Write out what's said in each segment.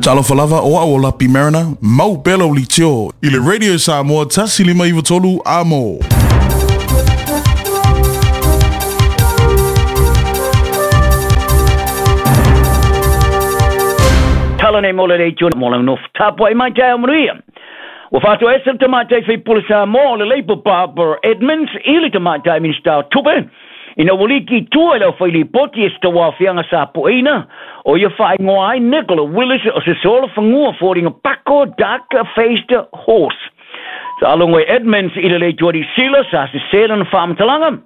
Talofa lava o au o Lapi Mariner, mau pea lau leitio i le Radio Samoa 1593 Amo. Tala nei mo le leitio mo lau nofo tapuai mai taeao manuia. Ua faatoese le Tamaitai Faipule Samoa o le Labour Barbara Edmonds i le Tamaitai Minisita o Tupe ina ua liki i tua i le aufailipoti e se tauaofiaga sa pueina o ia faaigoa ai Nicola Willis o se solofanua foliga pako dark faced horse. Sa logo e Edmonds i le Leitua Niu Sila sa sesē lana faamatalaga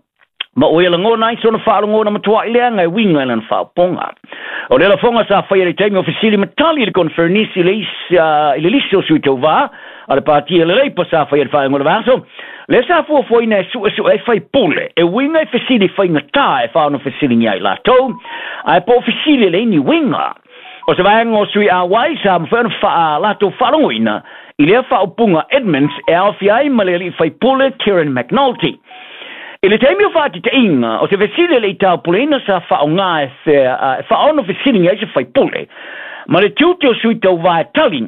ma ua ia lagona ai sona faalogona matua'i leaga e uiga i lana faaopoga. O le lafoga sa faia i le taimi o fesili ma tali i le koneferenisi i le lisi o sui tauvā a le Pāti a le Leipa sa faia i le faaiuga o le vaiaso, lea sa fuafuaina e suesue ai faipule e uiga i fesili faigata e faono fesiligia ai latou, ae po o fesili e leai ni uiga. O se vaega o sui auai sa mafai ona faa latou faalogoina i lea faaupuga Edmonds e aofia ai ma le alii faipule Kieran McNulty. I le taimi o faatitaiga, o se fesili e le i taupuleina sa faaaoga e faaono fesiligia ai se faipule ma le tiute o sui tauva e tali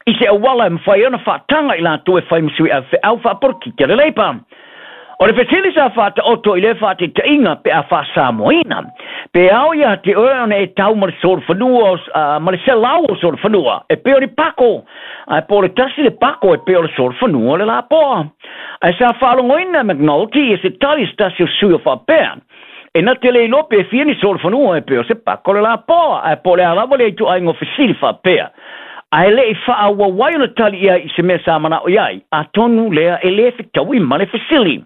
i se auala e mafai ai ona faataga i latou e fai ma sui avefeau faapolokiki a le Leipa. O le fesili sa faataoto i lea faataitaiga pe a faasamoaina, pe ao ia te oe ona e tau ma le solofanua ma le selau o solofanua e pei o ni pako, ae po o le tasi le pako e pei o le solofanua o le lapoa. Ae sa faalogoina e McNulty ia se tali se tasi o sui o faapea, E na te le iloa pe fia ni solofanua e pei o se pako le lapoa, ae po o le a lava lea ituaiga o fesili faapea. Ae le i faaauau ai ona tali i ai i se mea sa manao i ai, atonu lea e le fetaui ma le fesili.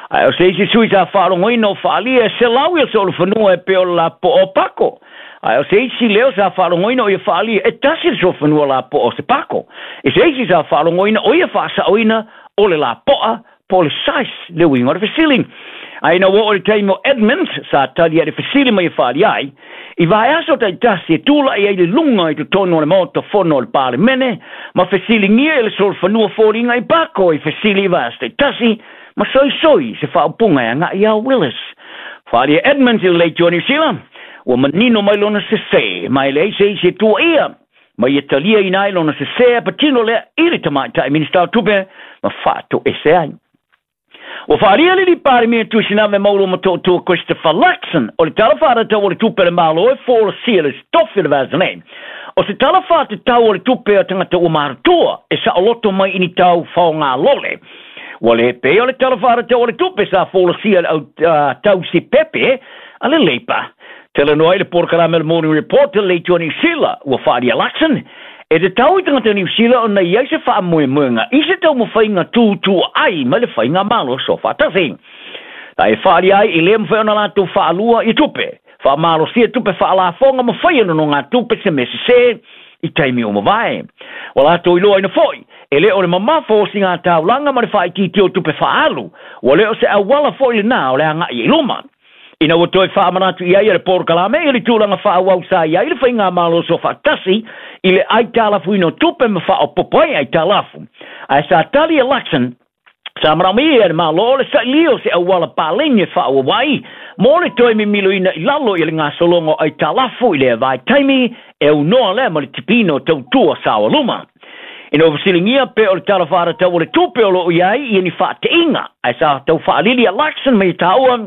Ae o se isi sui sa faalogoina o faaalia e selau ia solofanua e pei o le lapoa o pako. Ae o se isi leo sa faalogoina o ia faaalia e tasi le solofanua lapoa o se pako. I se isi sa faalogoina o ia faasaoina o le lapoa po o le size le uiga o le fesili. Ae ina ua oo i le taimi o Edmonds sa tali ai le fesili mai e faali ai, i vaiaso taitasi e tulai ai i le luga i totonu o le Maota Fono o le Palemene ma fesiligia e le solofanua foliga i pako i fesili i vaiaso taitasi ma soisoi se faaupuga e agai iā Willis. Faali e Edmonds i le Leitio a Niu Sila, ua manino mai lona sese ma e leai se isi e tuuaia. Ma ia taliaina ai lona sesē a patino lea i le Tamaitai Minisita o Tupe ma faatoese ai. Ua faaalia le Palemia Tuisiname Maolo Motootua Christopher Luxon o le Tala Faatatau o le Tupe a le Malo e folasia le tofi o le vaiaso nei. O se tala faatatau o le tupe a tagata ua matutua e saoloto mai i ni tau faogalole. Ua le pei o le Tala Faatatau o le Tupe sa folasia e le au tausi pepe a le Leipa. Talanoa ai le polokalame o le Morning Report i le Leitua Niu Sila, ua faaalia Luxon, e tatau i tagata Niu Sila ona i ai se faamoemoega i se taumafaiga tutuaai mai le faigamalo soofaatasi. A e faaalia ai i le mafai ona latou faalua i tupe, faamalosia tupe faalafoga ma faia nonogatupe se mea sesē i taimi ua mavae. Ua latou iloaina foi, e le o le mamafa o sigataulaga ma le faaitiitia o tupe faaalu, ua le o se auala foi lena o le agai i luma. Ina ua toe faamanatu i ai e le polokalame i le tulaga faaauau sa i ai le faigamalo soofaatasi i le aitalafuina o tupe ma faaopoopo ai aitalafu. Ae sa tali e Luxon, sa manaomia e le Malo le sailia o se auala paleni e faaauau ai mo le toe mimiloina i lalo i le gasologa o aitalafu i lea vaitaimi e aunoa lea ma le tipiina o tautua saoaluma. Ina ua fesiligia pe o le Tala Faatatau o le Tupe o lo o i ai ia ni faateiga, ae sa tau faalili a Luxon ma ia taua,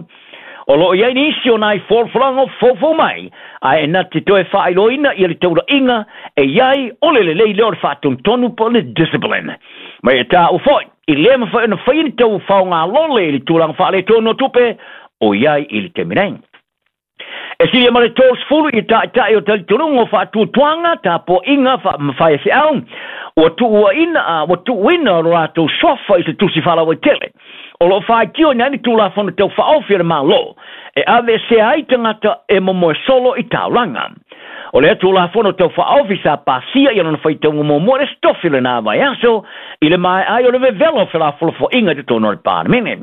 o lo o i ai nisi o nai folafolaga o foufou mai, ae na te toe faailoaina ia le taulaiga e i ai o le lelei lea o le faatonutonu po o le discipline. Ma ia taua foi, i le mafai ona faia ni tau faogalole i le tulaga faaletonu o tupe o i ai i le taimi nei. E silia ma le 30 i taitai o talitonuga o faatuatuaga, tapuaiga, faamafaiaseau, ua tuuaina, ua tuuina lo latou suafa i se tusi faalauaitele. O lo o faitioina ai le Tulafono Tau Faaofi a le Malo e aveesea ai tagata e momoe solo i taulaga. O lea Tulafono Tau Faaofi sa pasia i lona faitauga muamua i le Aso Tofi o lena vaiaso i le maea ai o le vevela o felafolafoaiga i totonu o le Palemene.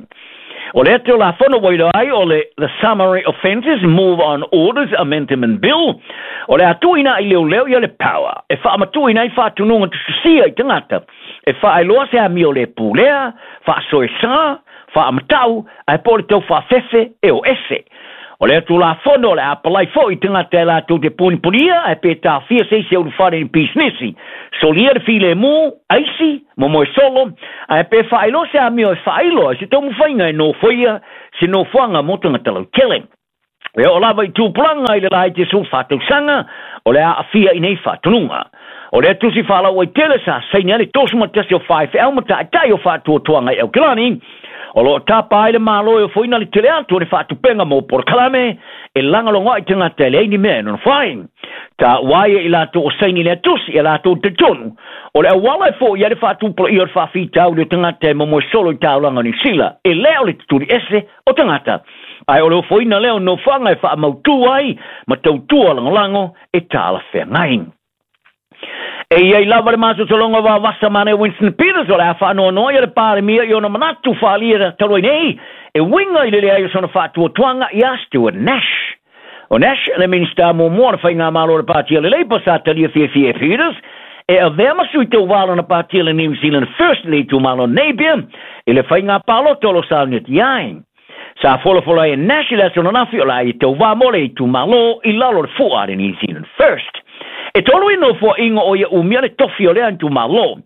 O lea Tulafono ua iloa ai o le The Summary Offences Move on Orders Amendment Bill, o le a tuuina ai leoleo ia le power e faamatuuina ai faatunuga tusitusia i tagata e faailoa se amio le pulea, faasoesa, faamatau, ae po o le tau faafefe e o ese. O lea tulafono o le a palai fo'i tagata e latou te punipunia ae pe taofia se isi e ulufale i ni pisinisi, solia le filemu, aisi, momoe solo, ae pe faailoa se amio e faailo ai se taumafaiga e nofoia se nofoaga mo tagata lautele. E oo lava i tupulaga i le laiti e 14 tausaga o le a aafia i nei faatonuga. O lea tusi faalauaitele sa saini ai le 31 o faifeau ma taitai o faatuatuaga i Aukilani, o loo tapa ai le Malo e ofoina le tele atu o le faatupenga mo polokalame e lagolago ai tagata e leai ni mea e nonofo ai. Taua ai e i latou o saini lea tusi e latou talitonu o le auala e fo'i ai le faatupulaia o le faafitauli o tagata e momoe solo i taulaga o Niu Sila, e le o le tutuli ese o tagata, ae o le ofoina lea o nofoaga e faamautū ai ma tautua lagolago e talafeagai. E i ai lava le masosologa o vavasa ma Winston Peters o le a faanoanoa ia le Palemia i ona manatu faaalia talu ai nei e uiga i le leai o sona faatuatuaga iā Stuart Nash. O Nash le Minista muamua o le faigamalo o le Patia le Labour sa talia fiafia e Peters e avea ma sui tauva lona Patia le New Zealand First le itumalo Napier i le faiga palota o lo sauniati ai. Sa folafola ai e Nash i le aso ananafi o le a ia tauvā mo le itumalo i lalo o le fua a le New Zealand First. E tolu i nofoaʻiga o ia umia le tofi o lea itumalo,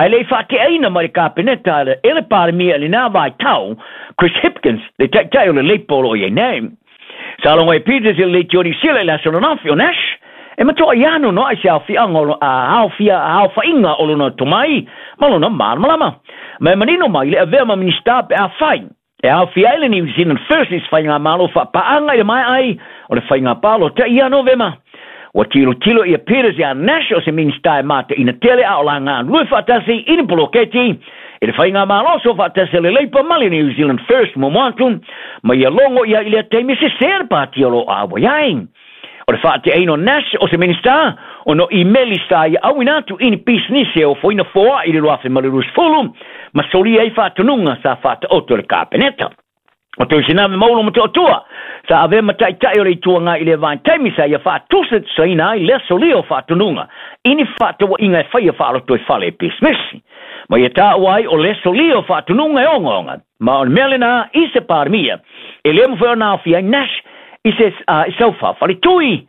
ae le i faateaina mai le Kapeneta e le Palemia i lenā vaitau, Chris Hipkins, le taitai o le Labour o loo i ai nei. Sa logo e Peters i le leitio Niu Sila i le aso ananafi o Nash, e matuai anoanoai se aofiaga o aofia aofaiga o lona tomai ma lona malamalama. Ma e manino mai le avea ma Minista pe afai e aofia ai le New Zealand First i se faigamalo faapaaga i le maea ai o le faiga palota ia Novema. Ua tilotilo ia Peters iā Nash o se Minista e mataʻina tele a o la galulue faatasi i ni poloketi i le faigamalo soofaatasi a le Labour ma le New Zealand First muamua atu ma ia logo ia i lea taimi e sesē le pati o loo auai ai. O le faateaina o Nash o se Minista ona o imeli sa ia auina atu i ni pisinisi e ofoina foaʻi i le 2020 ma solia ai faatonuga sa faataoto e le Kapeneta. O Tuisinave Maulo Motootua sa avea ma taitai o le Itu Agai i lea vaitaimi sa ia faatusatusaina ai lea solia o faatonuga i ni faatauaʻiga e faia faalotoifale e pisinisi. Ma ia taua ai o lea solia o faatonuga e ogaoga ma o le mea lenā i se Palemia e le mafai ona aofia ai Nash i se i sau faafaletui.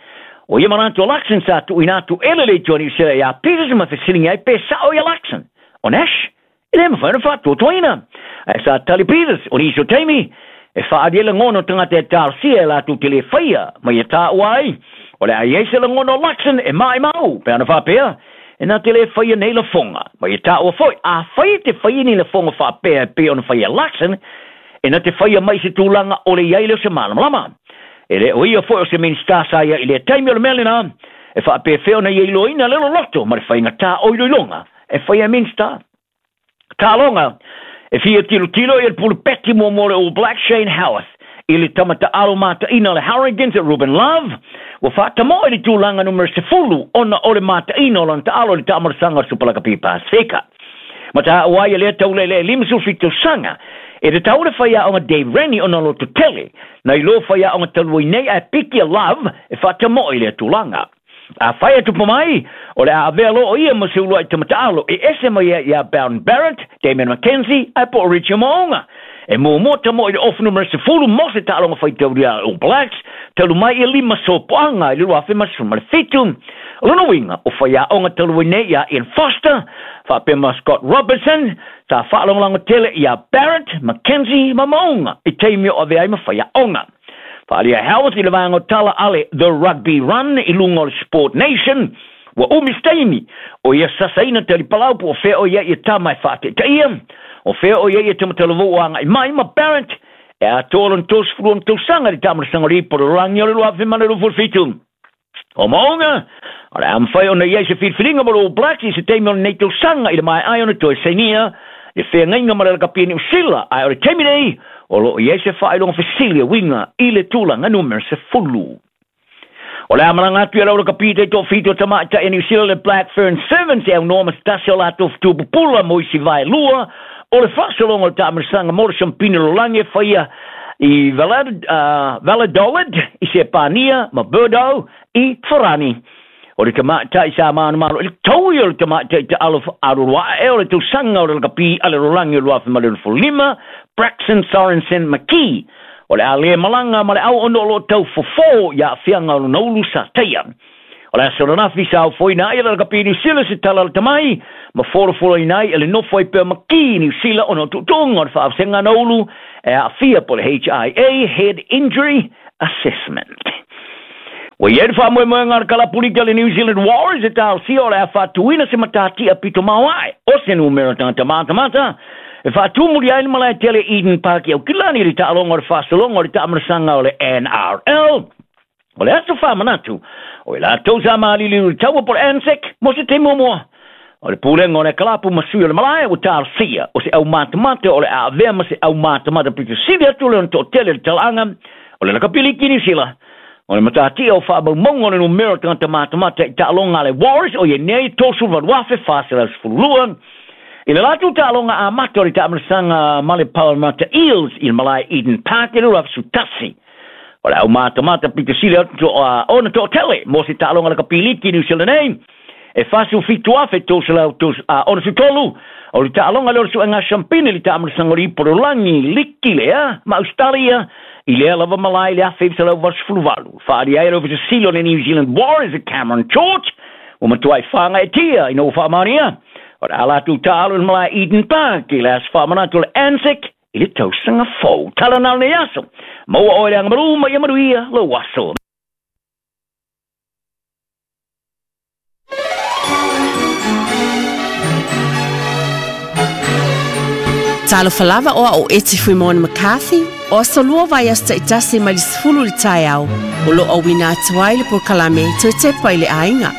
O ia manatu o Luxon sa tuuina atu e le Leitio a Niu Sila iā Peters ma fesiligia ai pe sao ia Luxon. O Nash e le mafai ona faatuatuaina. Ae sa tali Peters, o nisi o taimi, e faaalia lagona o tagata e talosia e latou te le faia ma ia taua ai, o le a i ai se lagona o Luxon e maʻimau pe ana faapea, e na te le faia nei lafoga. Ma ia taua foi, afai e te faia ni lafoga faapea e pei ona faia e Luxon, e na te faia mai i se tulaga o le i ai lea o se malamalama. E le o ia foi o se Minista sa ia i lea taimi o le mea lenā, e faapefea ona ia iloaina le loloto ma le faigatā o iloiloga e faia e Minista. Taaloga, e fia tilotilo ia le pulupeti muamua o le All Blacks Shane Howarth i le tama taalo mataina o le Hurricanes Ruben Love, ua faatamoe i le tulaga numera 10 ona o le mataina o lona taalo i le taamalasaga o le Super Lakapi Pasefika. Ma taua ai e lea taulele e 57 tausaga, e tatau le faiaoga Dave Rennie ona loto tele, nai lo faiaoga talu ai nei ae piki a Love e faatamoe i lea tulaga. Afai e tupu mai, o le a avea loa o ia ma se uluai tamataalo e ese mai ai iā Beauden Barrett, Damian McKenzie, ae po o Richie Mo'unga. E muamua tamoe i le ofu numera 10 mo se taaloga faitaulia a All Blacks, talu mai ia lima sopoaga i le 2017. O lona uiga, o faiaoga talu ai nei iā Ian Foster, faapea ma Scott Robertson, sa faalagolago tele iā Barrett, McKenzie ma Mo'unga i taimi o avea ai ma faiaoga. Faaalia Howarth i le vaega o tala a le The Rugby Run i luga o le Sport Nation, ua umi se taimi o ia sasaina talipalau po o fea o i ai ia tama e faateʻitaʻia, o fea o i ai ia tamatalavou o agaʻi mai ma Barrett e atoa lona 32 tausaga i le taamalasaga o le ipu o le lalolagi o le 2027. O Mo'unga, o le a mafai ona i ai se filifiliga mo le All Blacks i se taimi o lenei tausaga i le maea ai ona toe sainia le feagaiga ma le lakapi a Niu Sila, ae o le taimi nei, o loo i ai se faailoga fesili e uiga i le tulaga numera 10. O le a malaga atu i lau lakapi taitoafitu o tamaitai a Niu Sila le Black Fern Sevens e aunoa ma se tasi o latou fetu pupula mo isi vaelua o le faasologa o le taamalasaga mo le siampina lalolagi e faia i Valladolid i Sepania ma Bordeaux i Farani. O le tamaitai sa manumalo i le taui o le tamaitai taalo alualuaʻe o le tausaga o le lakapi a le lalolagi o 2025, Braxton Sorensen McKee. O le a lē malaga ma le auauna o loo tau fofō i aafiaga o lona ulu sa taia. O le aso ananafi sa ofoina ai e le lakapi Niu Sila se tala a le tamai ma folafolaina ai e le nofo ai pea ma ki Niu Sila ona o tuutuuga o le faaosega ana ulu e aafia po o le HIA, Head Injury Assessment. Ua i ai le faamoemoega a le kalapulita a le New Zealand Warriors e talosia o le a faatuina se matatia pito maoae o se numera tagata matamata e faatumuli ai le malae tele Eden Park i Aukilani i le taaloga o le faasologa o le taamanasaga o le NRL. O le aso faamanatu, o i latou sa maliliu i le taua po o le ANZAC mo se taimi muamua. O le pulega o le kalapu ma sui o le malae ua talosia o se aumatamata o le a avea ma se aumatamata pito sili atu le ona toatele le talaaga o le lakapi liki Niu Sila. O le matatia o faamaumauga o le numera o tagata matamata i taaloga a le Warriors o ia nei 38,412 i le latou taaloga amata o le taamanasaga ma le Parramatta Eels i le malae Eden Park i le 2011. O le aumatamata pito sili atu ona toatele mo se taaloga lakapi liki Niu Sila nei e 47,363. O le taaloga lea o le suega siampini le taamanasaga o le ipu o le lagi liki lea ma Australia i lea lava malae i le 1988. Faaalia ai le Ofisa Sili o le New Zealand Warriors e Cameron George ua matuai fagaetia ina ua faamaonia o le a latou taalo i le malae Eden Park i le aso faamanatu o le ANZAC i le tausaga fou. Tala na o lenei aso. Maua oe le agamalu ma ia manuia lou aso. Talofa lava o au o Eti Fuimona McCarthy, o aso lua vaiaso taitasi mai le 10 i le taeao, o lo o auina atu ai le polokalame Toe Tepa i le Aiga.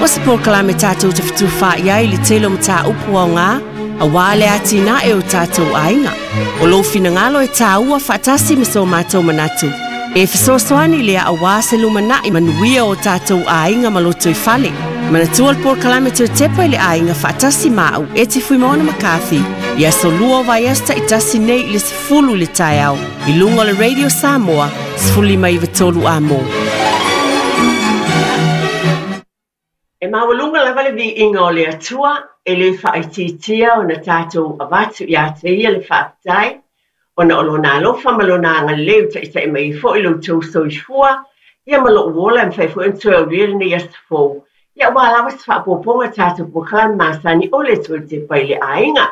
O se polokalame tatou te fetufaai ai i le tele o mataupu aoga, aua le atinae o tatou aiga. O lou finagalo e tāua faatasi ma so matou manatu, e fesoasoani lea aua se lumanai manuia o tatou aiga ma lotoifale. Manatua le polokalame Toe Tepa i le Aiga faatasi ma au Eti Fuimaono McCarthy i aso lua o vaiaso taitasi nei i le 10 i le taeao i luga o le Radio Samoa 15 93 Amo. E maualuga lava le viiga o le Atua, e le faaitiitia ona tatou avatu iā te Ia le faafetai, ona o Lona alofa ma Lona agalelei ua taitai mai ai foi lo outou soifua, ia ma lo'u ola e mafai foi ona toe aulia lenei aso fou, ia aua lava se faaopoopoga tatou polokalame masani o le Toe Tepa i le Aiga.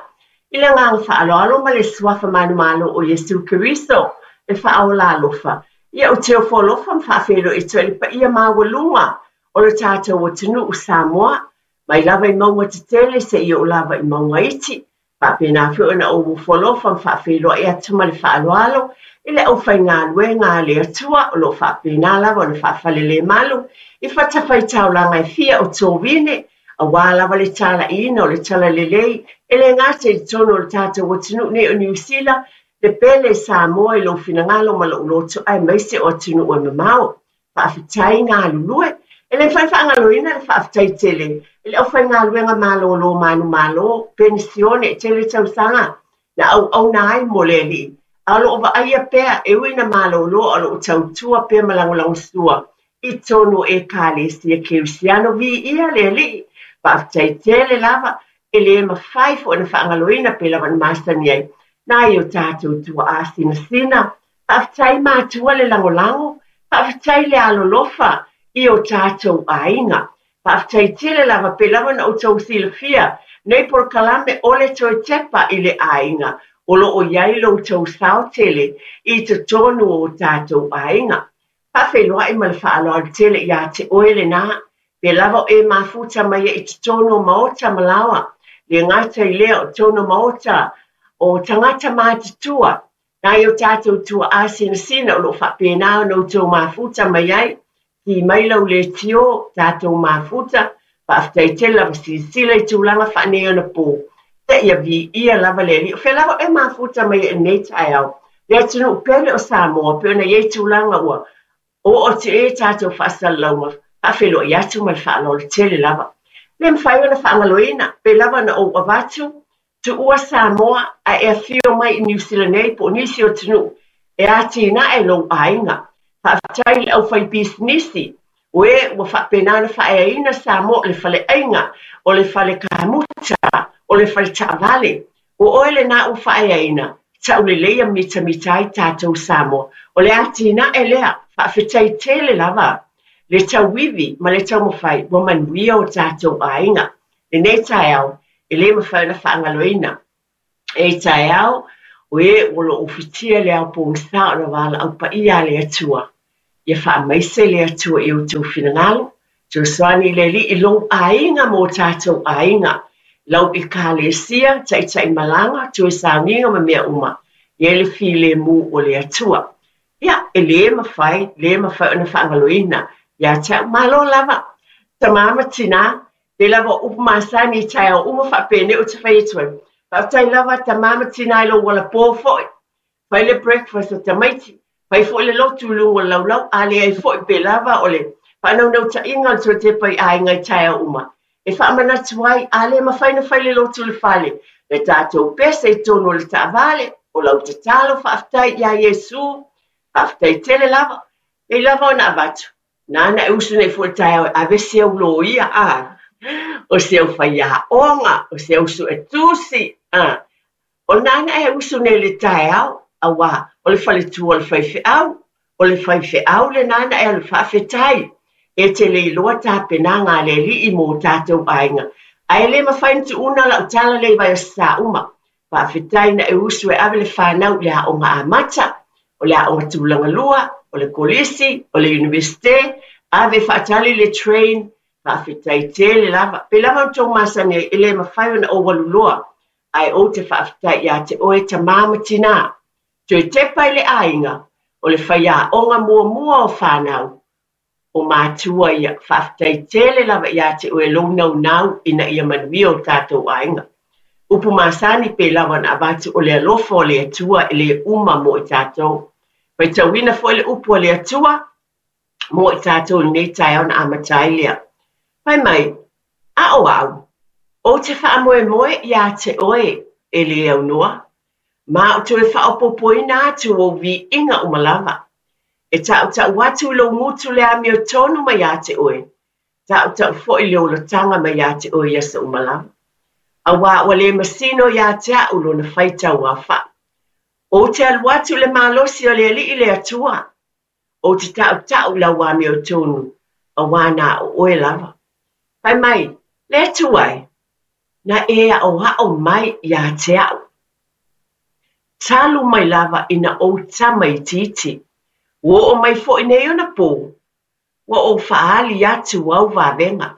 I le agaga faaaloalo ma le Suafa manumalo o Iesu Keriso, le Faaola alofa, ia ou te ofo alofa ma faafeiloai atu ai i le paia maualuga o le tatou atunuu Samoa, mai lava i mauga tetele seia oo lava i mauga iti, faapena foi ona ou ofo alofa ma faafeiloai atu ma le faaaloalo i le aufaigaluega a le Atua o lo o faapena lava ona faafalelemalu i fatafaitaulaga e fia o Tovine, aua lava le talaiina o le talalelei e le gata i totonu o le tatou atunuu nei o Niu Sila, le pele Samoa i lou finagalo ma lou loto aemaise o atunuu e mamao. Faafetai galulue. E le mafai faagaloina le faafetai tele i le aufaigaluega malolo manumalo, penisione e tele tausaga na auauna ai mo le Alii, a o lo o vaaia pea e ui ina malolo a o lo o tautua pea ma lagolagosua i totonu o Ekalesia Kerisiano. Viia le Alii! Faafetai tele lava, e le mafai foi ona faagaloina pei lava ona masani ai nai o tatou tuaa sinasina. Faafetai matua le lagolago, faafetai le alolofa i o tatou aiga. Faafetai tele lava pei lava ona outou silafia nei polokalame o le Toe Tepa i le Aiga o lo o i ai lo outou sao tele i totonu o tatou aiga. Faafeiloai ma le faaaloalo tele ia te oe lena, pe lava o e mafuta mai ai i totonu o maota ma laoa, le gata i lea o totonu o maota o tagata matutua, Nai o tatou tuaa sinasina o lo o faapena ona outou mafuta mai ai, ki mai lau leitio, tatou mafuta, faafetai tele lava silasila i tulaga faaneionapo, seia viia lava le Alii. O fea lava oe mafuta mai ai i lenei taeao, le atunuu pele o Samoa, pei ona i ai tulaga ua oo atu i ai tatou faasalalauga, faafeiloai atu ma le faaaloalo tele lava. Le mafai ona faagaloina, pei lava ona ou avatu, tuua Samoa ae e afio mai i Niu Sila nei po o nisi o atunuu e atinae lou aiga. Faafetai i le aufaipisinisi o e ua faapena ona faaeaina Samoa o le faleaiga, o le fale kamuta, o le fale taavale. O oe lena ua faaeaina, Tauleleia mitamita ai tatou Samoa. O le atinae lea, faafetai tele lava le tauivi ma le taumafai ua manuia o tatou aiga. Lenei taeao, e le mafai ona faagaloina. E taeao, o e o loo ufitia le ao pogisa ona valaau paia a le Atua. Ia faamaise le Atua i outou finagalo, fesoasoani le Alii i lou aiga ma o tatou aiga, lau ekalesia, taitaimalaga, toe sauniga ma mea uma, ia i le filemu o le Atua. Ia, e le mafai, le mafai ona faagaloina ia te au. Malo lava, tamā ma tinā, pei lava o upu masani i taeao uma faapenei ou te fai atu ai. Faafetai lava tamā ma tinā i lou alapō foi. Fai le breakfast a tamaiti, fai foi le lotu i luga o le laulau, a leai foi pei lava o le faanaunautaiga o le toe tepa i aiga i taeao uma. E faamanatu ai, a le mafai ona fai le lotu i le fale, le tatou pese i totonu o le taavale, o lau tatalo faafetai ia Iesu, faafetai tele lava. Pei lava ona avatu, nāna e usu nei foi i le taeao e ave si au loia, a, o si au faiaoga, o si au suetusi, a. O lena e usu nei i le taeao, auā o le faletua o le faifeau, o le faifeau lena na e alu faafetai. E te le iloa tapenaga a le Alii mo o tatou aiga, ae le mafai ona tuuna lau tala lea i Vaiaso Sauma. Faafetai na e usu e ave le fanau i le aoga amata, o le aoga tulaga lua, o le kolisi, o le Iunivesite, ave faatali le train, faafetai tele lava. Pei lava ona outou masani ai, e le mafai ona ou alu loa ae ou te faafetai ia te oe tamā ma tinā. Toe tepa i le aiga, o le faiaoga muamua o fanau, o matua ia. Faafetai tele lava ia te oe lou naunau ina ia manuia o tatou aiga. Upu masani pei lava ona avatu o le alofa o le Atua e le uma mo i tatou. Faitauina foi le upu a le Atua mo i tatou i lenei taeao ona amata ai lea. Fai mai, a o au, ou te faamoemoe iā te oe e le aunoa, ma ou toe faaopoopoina atu ou viiga uma lava. E tautau atu i lou gutu le amiotonu mai ia te oe, tautau foi le olataga mai ia te oe i aso uma lava. Auā ua le masino iā te au lona faitau aofai. Ou te alu atu i le malosi o le Alii le Atua, Ou te tautau i lau amiotonu, auā na o oe lava. Fai mai, Le Atua e, na e aʻoaʻo mai iā te aʻu. Talu mai lava ina ou tama itiiti, ua oo mai foi nei ona pō, ua ou faaali atu au vavega.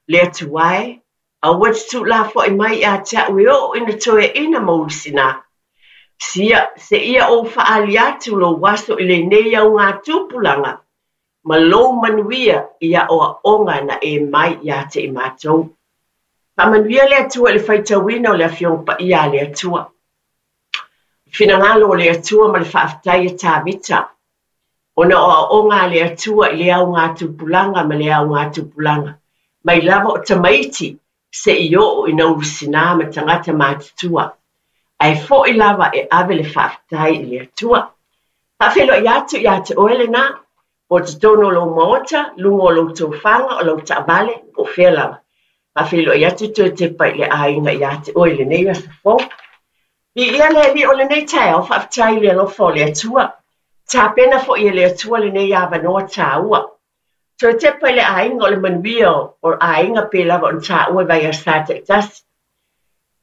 Le Atua e, aua e te tuulafoai mai ia te aʻu e oo ina toeaina ma ulusinā. Sia, seia ou faaali atu lou aso i lenei augatupulaga ma lou manuia i aʻoaʻoga na e mai ia te i matou. Faamanuia le Atua i le faitauina o le Afioga Paia a le Atua. Finagalo o le Atua ma le faafetai a Tavita, ona o aoaoga a le Atua i le augatupulaga ma le augatupulaga, mai lava o tamaiti seia oo ina ulusinā ma tagata matutua, ae foi lava e ave le faafetai i le Atua. Faafeiloai atu ia te oe lenā, po o totonu o lou maota, luga o lou tofaga, o lau taavale, po o fea lava. Faafeiloai atu toe tepa i le aiga ia te oe i lenei aso fou. Viia le Alii o lenei taeao, faafetai i le alofa o le Atua. Tapena foi e le Atua lenei avanoa taua. Toe tepa i le aiga o le manuia o aiga pei lava ona taua i vaiaso taitasi.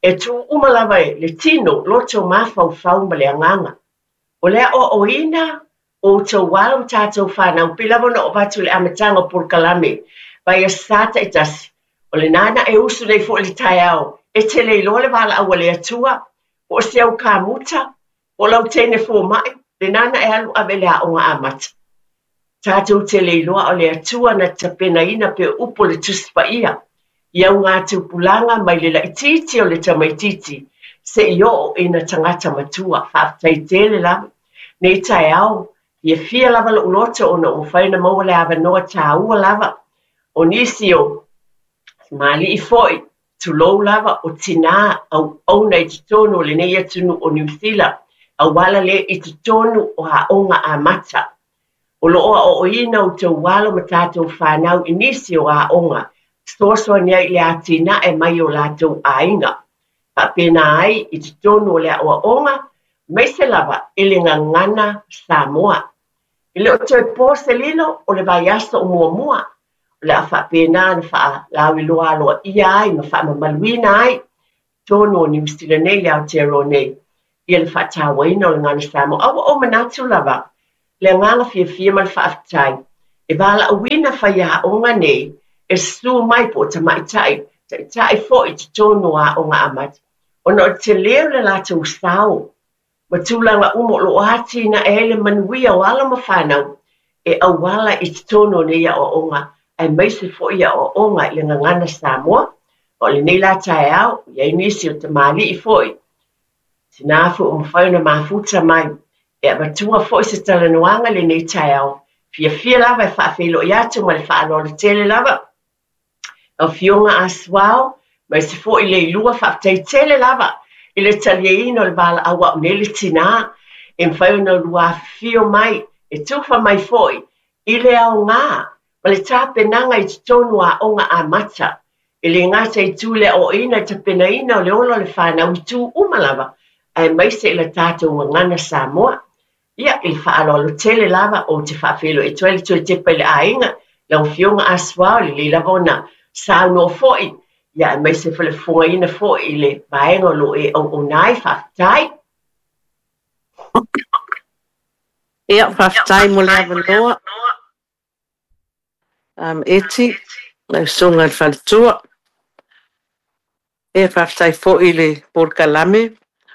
E tū uma lava le tino, loto, mafaufau ma le agaga. O le aʻoaʻoina o outou alo ma tatou fanau, pei lava ona oo atu i le amataga o polokalame vaiaso taitasi, o lenā na e usu nei foi i le taeao, e te le iloa le valaau a le Atua, po o se au kamuta, po o lau teine fomai, lenā na e alu ave i le aoga amata. Tatou te le iloa o le Atua na tapenaina pei o upu o le Tusi Paia i augatupulaga mai le laitiiti o le tamaitiiti seia oo ina tagata matua. Faafetai tele lava. Nei taeao, fiafia lava lou loto ona ua mafai ona maua le avanoa taua lava o nisi o tamalii foi, tulou lava, o tinā auauna i totonu o lenei atunuu o Niu Sila, auala lea i totonu o aoga amata. O lo o aoaoina outou alo ma tatou fanau i nisi o aoga fesoasoani ai i le atinae mai o latou aiga. Faapena ai i totonu o le aoaoga, Aemaise lava i le gagana Samoa. E le o toe po se lilo o le vaiaso o muamua, o le a faapena ona faalauiloa aloaia ai ma faamamaluina ai i totonu o Niu Sila nei i Aotearoa nei ia le faatauaina o le gagana Samoa. A ua ou manatu lava, le agaga fiafia ma le faafetai e valaauina faiaoga nei e susu mai po o tamaitai, taitai foi i totonu o aoga amata, ona o le tele o le latou sao ma tulaga uma o lo o atinae ai le manuia o alo ma fanau e auala i totonu o nei aoaoga aemaise foi aoaoga i le gagana Samoa. O lenei la taeao, i ai nisi o tamalii foi, tina foi ua mafai ona mafuta mai e avatua foi se talanoaga i lenei taeao. Fiafia lava e faafeiloai atu ma le faaaloalo tele lava. Afioga a Suao, aemaise foi Leilua, faafetai tele lava i le taliaina o le valaau a au nei le tina e mafai ona lua afifio mai, e tufa mai foi i le aoga ma le tapenaga i totonu o aoga amata. E le gata i tu i le aoaoina i le tapenaina o le ola o le fanau i tu uma lava, aemaise i le tatou gagana Samoa. Ia, i le faaaloalo tele lava, ou te faafeiloai atu ai le toe tepa i le aiga, lau Afioga Asuao, e lelei lava ona saunoa foi, ia, aemaise foi le fofogaina foi i le vaega o lo o e auauna ai. Faafetai. Ia, faafetai mo le avanoa. Eti, lau susuga i le faletua. E faafetai foi i le polokalame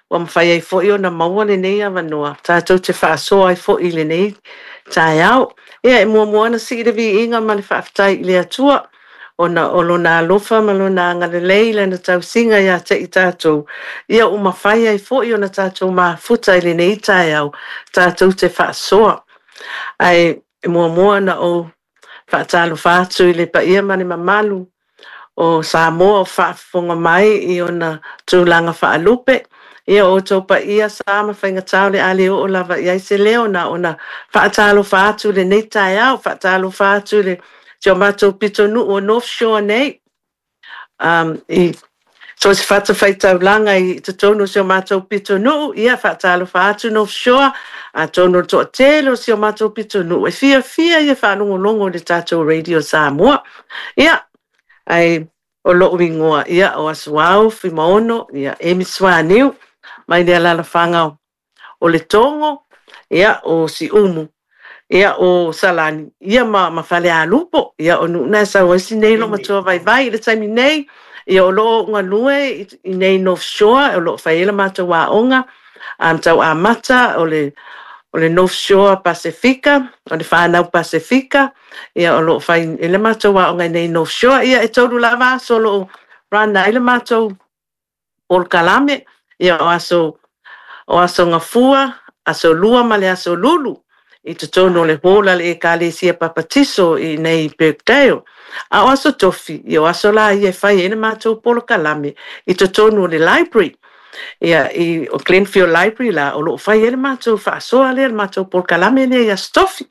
ua mafai ai foi ona maua lenei avanoa tatou te faasoa ai foi i lenei taeao. Ia e muamua ona sii le viiga ma le faafetai i le Atua ona o lona alofa ma lona agalelei i lana tausiga ia te i tatou, ia ua mafai ai foi ona tatou mafuta i lenei taeao tatou te faasoa. Ae e muamua ona ou faatalofa atu i le paia ma le mamalu o Samoa o faafofoga mai i ona tulaga faalupe. Ia o outou paia sa ma faigata o le a le oo lava i ai se leo na ona faatalofa atu i lenei taeao, faatalofa atu i le si o matou pitonuu o North Shore nei, i so o se fatafaitaulaga i totonu o si o matou pitonuu, ia faatalofa atu North Shore, atonu o le toatele o si o matou pitonuu e fiafia ia faalogologo i le tatou Radio Samoa. Ia, ae o lou igoa, ia, o Asuao Fuimaono, ia, Amy Suaniu, mai le alaalafaga o Letogo, ia, o Siumu, ia, o Salani, ia, ma Falealupo, ia, o nuu na e sau ai si nei olomatua vaivai i le taimi nei, ia, o lo o galue i nei North Shore, o lo o fai ai le matou aoga, tau amata o le North Shore Pasefika, o le whānau Pasefika, ia, o lo o fai i le matou aoga i nei North Shore, ia, e tolu lava aso o lo o run ai le matou polokalame, ia, o aso Gafua, aso Lua ma le aso Lulu, i totonu o le hall a le Ekalesia Papatiso i nei Birkdale. A o aso Tofi, ia, o aso la ia e fai ai le matou polokalame i totonu o le library. Ia, i o Glenfield Library la, o lo o fai ai le matou faasoa lea, le matou polokalame lea i aso Tofi.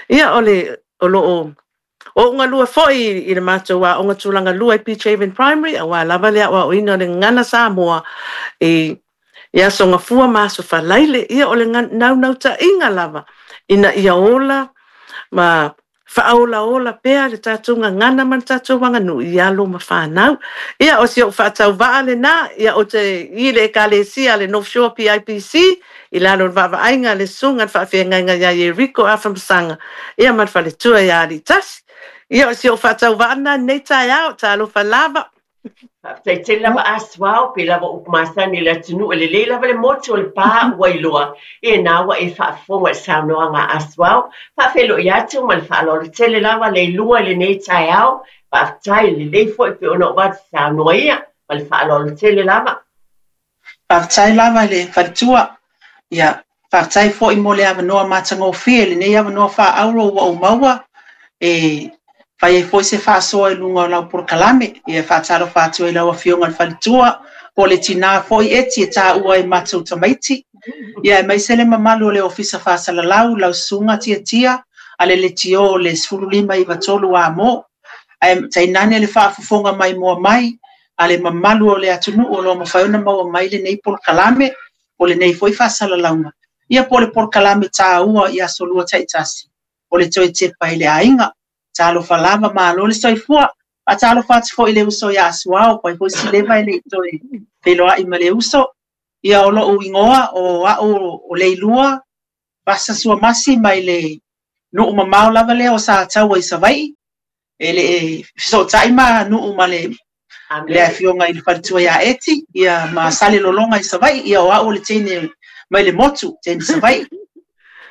Ia, o le, o lo o o galue foi i le matou aoga tulaga lua i Beach Haven Primary, aua lava le aoaoina o le gagana Samoa i aso Gafua ma aso Faraile. Ia, o le naunautaiga lava ina ia ola ma faaolaola pea le tatou gagana ma le tatou aganuu i alo ma fanau. Ia, o si ou faatauvaa lena, ia, o te i le Ekalesia le North Shore PIPC, i lalo o le vaavaaiga le susuga le faafeagaiga ia Yeriko Afamasaga, ia ma le faletua ia Alitasi. Ia, o si ou faatauvaa lena nei taeao, talofa lava. Faafetai tele lava Asuao, pe lava upu masani i le atunuu e lelei lava le motu o le pā ua iloa. E nā ua e faafofoga i le saunoaga a Asuao, faafeiloai atu ma le faaaloalo tele lava Leilua i lenei taeao. Faafetai lelei foi pe ona ou atu saunoa ia ma le faaaloalo tele lava. Faafetai lava i le faletua. Ia, faafetai foi mo le avanoa matagofie, lenei avanoa faaauro ua ou maua e fai ai foi se faasoa i luga o lau polokalame. Ia, faatalofa atu ai lau afioga i le faletua, po o le tina foi eti e taua ai matou tamaiti. Ia, aemaise le mamalu o le Ofisa Faasalalau, lau susuga Tiatia, a le Leitio o le 1593 Amo. Ae tainane le faafofoga maimoa mai a le mamalu o le atunuu o lo o mafai ona maua mai lenei polokalame. o lenei foi faasalalauga, ia po o le polokalame taua i aso Lua taitasi o le toe tepa i le aiga. Talofa lava, malo le soifua. Faatalofa atu foi i le uso ia Asuao, pai foi Sileva e le i toe feiloai ma le uso. Ia o lo'u igoa o a'u o Leilua Vasa Suamasi mai le nuu mamao lava lea o Sataua i Savai'i, e le fesootai ma nuu ma le le afioga i le faletua ia Eti, ia ma Salelologa i Savai'i, ia o a'u o le teine mai le motu, teine Savai'i.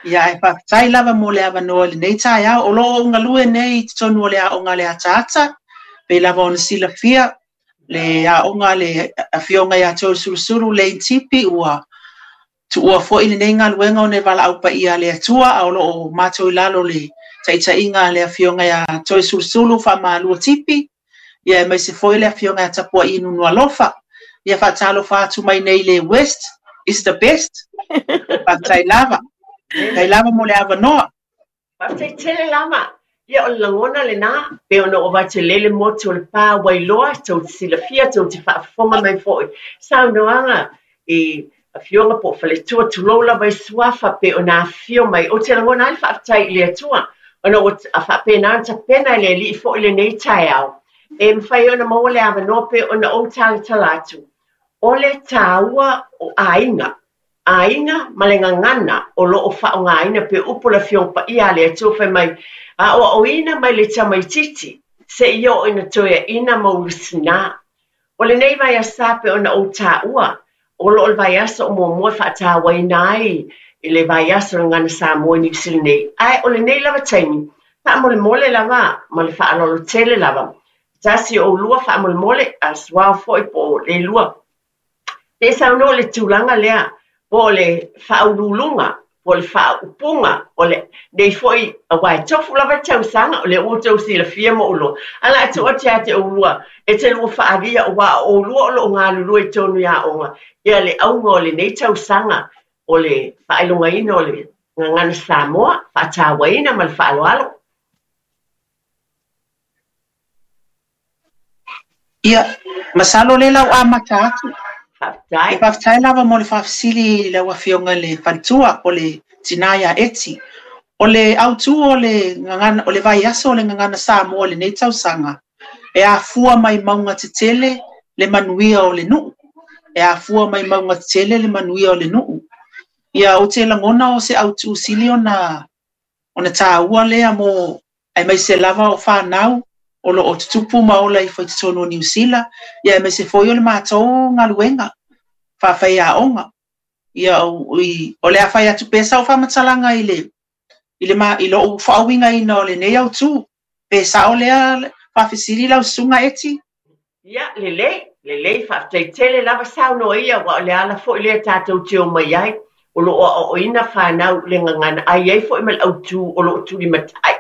Ia ae faafetai lava mo le avanoa i lenei taeao. O lo o ou galue nei i totonu o le aoga a le Ataata, pei lava ona silafia le aoga a le afioga ia Toeolesulusulu Lane Tipi, ua tuua foi lenei galuega ona e valaau paia a le Atua, a o lo o matou i lalo o le taitaiga a le afioga ia Toeolesulusulu Faamalua Tipi, ia aemaise foi le afioga ia Tapuai Nunualofa. Ia faatalofa atu mai nei le West is the best. Faafetai lava. Faafetai lava mo le avanoa. Faafetai tele lava. Ia o le lagona lenā, pei ona ou avatu e lele motu o le pa Wailoa, tou te silafia, tou te faafofoga mai foi. Saunoaga i afioga po o faletua, tulou lava i suafa pei ona afifio mai. Ou te lagona ai le faafetai i le Atua ona ua faapena ona tapena e le Alii foi lenei taeao e mafai ai ona maua le avanoa pei ona ou talatala atu. O le taua o aiga, aiga ma le gagana o lo o faaaogaina pei o upu o le Afioga Paia a le Atua fai mai, Aoaoina mai le tamaitiiti seia oo ina toeaina ma ulusinā. O lenei vaiaso pei ona ou taua, o lo o le vaiaso o muamua e faatauaina ai i le vaiaso o le Gagana Samoa i Niu Sila nei. Ae o lenei lava taimi, faamolemole lava ma le faaaloalo tele lava, tasi o oulua faamolemole, a suao foi po o Leilua, se i saunoa i le tulaga lea po o le faauluuluga po o le faaupuga o lenei foi, aua e tofu lava le tausaga, o lea ua outou silafia ma ou iloa. Ae o le a tuu atu ia te oulua e te lua faaalia, aua o oulua o lo o galulue i totonu i aoga, ia le auga o lenei tausaga o le faailogaina o le Gagana Samoa, faatauaina ma le faaaloalo. Ia, masalo o lea la ua amata atu. Faafetai. E faafetai lava mo le faafesili i lau Afioga i le Faletua o le tina ia Eti. O le autu o le gagana, o le vaiaso o le Gagana Samoa i lenei tausaga, e afua mai mauga tetele le manuia o le nuu. E afua mai mauga tetele le manuia o le nuu. Ia, ou te lagona o se autu sili ona ona taua lea mo aemaise lava o fanau o lo o tutupu ma ola ifo i totonu o Niu Sila, ia aemaise foi o le matou galuega faafaiaoga. Ia o le a fai atu pea sau faamatalaga i le i le i lou faauigaina o lenei autū, pe sao lea faafesili lau susuga Eti? Ia, lelei, lelei, faafetai tele lava saunoa ia, aua o le ala foi lea tatou te omai ai, o lo o aoaoina fanau i le gagana, ae i ai foi ma le autu o lo o tulimatai.